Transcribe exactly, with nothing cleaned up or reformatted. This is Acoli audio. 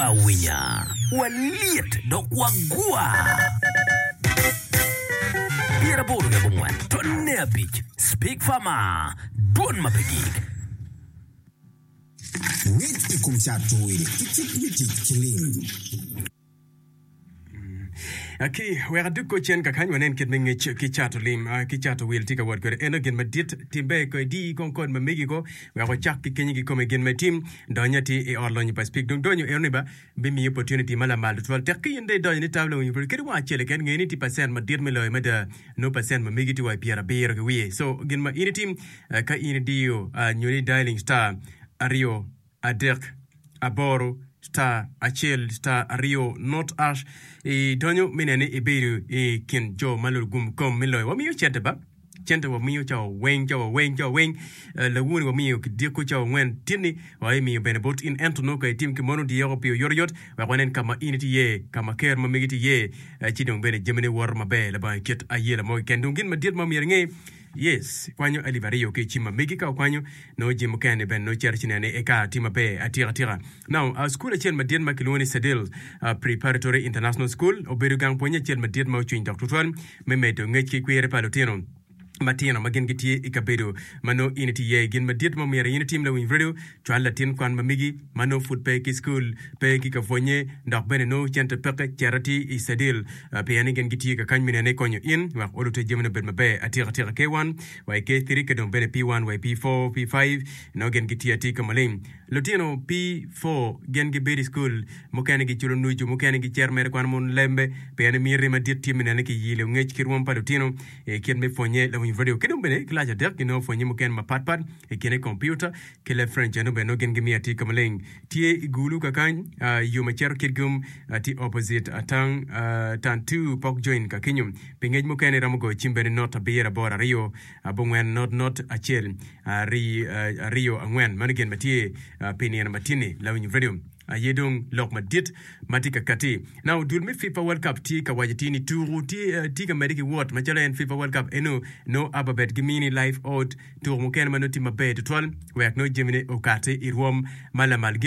awinya, walyet dok wagwa. Pyeraboro ki abongwen tonne abic Speak Farmer, dwon ma pe gik. Ngec i kom cato wil ki kit me tic ki lim. Ki wek adug cen kakany wanen kit me ngec ki cato lim ki cato wil tye ka wot kwede. Eno gin madit timbe ko idi kong kod ma megi ko wek wacak ki kenyi kikome gin ma itim donyo atir i ot lonyo pa Speke. Dong donyo eno ni ba bimiyo opportunity ma lamal tutwal. Tek ki in dong idonyo ni tablo winyo pud kadi wang acel keken nge ni tye percent madit me loyo mada nongo percent ma megi tye wa i pyerabiro ki wiye. So gin ma in itim ka in idiyo nyo ni dialing star aryo adek aboro star acel star aryo not ash idonyo me nene ibedo i kin jo ma lugum kom me loyo. Wamiyo cente ba cente wamiyo cawa weng cawa weng cawa weng lawoni wamiyo kidiko cawa angwen tinni wa imiyo bene bot in ento nongo ka itim ki mono dyeko pi oyotoyot wek wanen ka ma in itye iye ka ma ker ma megi tye iye ci dong bene jamine woto maber labongo kit ayela mo keken. Dong gin madit ma myero inge Yes, kwanyo alip aryo ki i cim ma megi ka okwanyo, nongo jami mukene-ni bene nongo cito ci neno ni eka tye maber atika tika. Now, cukul acel madit ma kilwongo ni Sedil Preparatory International School obedo gang pwonye acel madit ma ocwiny dok tutwal me medo ngec ki kwiri pa lutino matino ma gin gitye i kabedo ma nongo in itye iye. Gin madit ma omyero in itim lawiny redio, cwal latin kwan ma megi ma nongo pud pe ki cukul, pe ki ka pwonye, dok bene nongo cente peke, cet atir i Sedil. Pien ni gin gitye ka kany me nene konyo in wek olute jamine obed maber atika tika K one wa i K three ki dong bene P one wa i P four, P five nongo gin gitye atir ka maleng. Lutino P four gin gibedo i cukul mukene giculo nucu mukene gicito mere kwano mon lembe pien ni miti madit tye me nene ki yilo ngec ki rwom pa lutino i kit me pwonye lawiny radio ki dong bene kilac adek ginongo pwonye mukene mapat pat i kine kompiuta ki leb French eno bene nongo gin gimiyo atir ka maleng. Tye i Gulu kakany, yo ma cito Kitgum tye opposite Atang Tantu Pok Join ka kenyo. Pi ngec mukene iromo goyo cim bene not abiro aboro aryo abongwen not not acel aryo angwen. Mano gin ma tye pi nino ma tye-ni. Lawiny Radio aye dong lok madit ma tye ka kati. Now dul me FIFA World Cup tye ka waco tye ni tuku tye ka medde ki wot macalo en FIFA World Cup eno nongo Ababet gimini live odd Tuko mukene ma nongo tye maber tutwal wek nongo jamine okati i rwom ma lamal.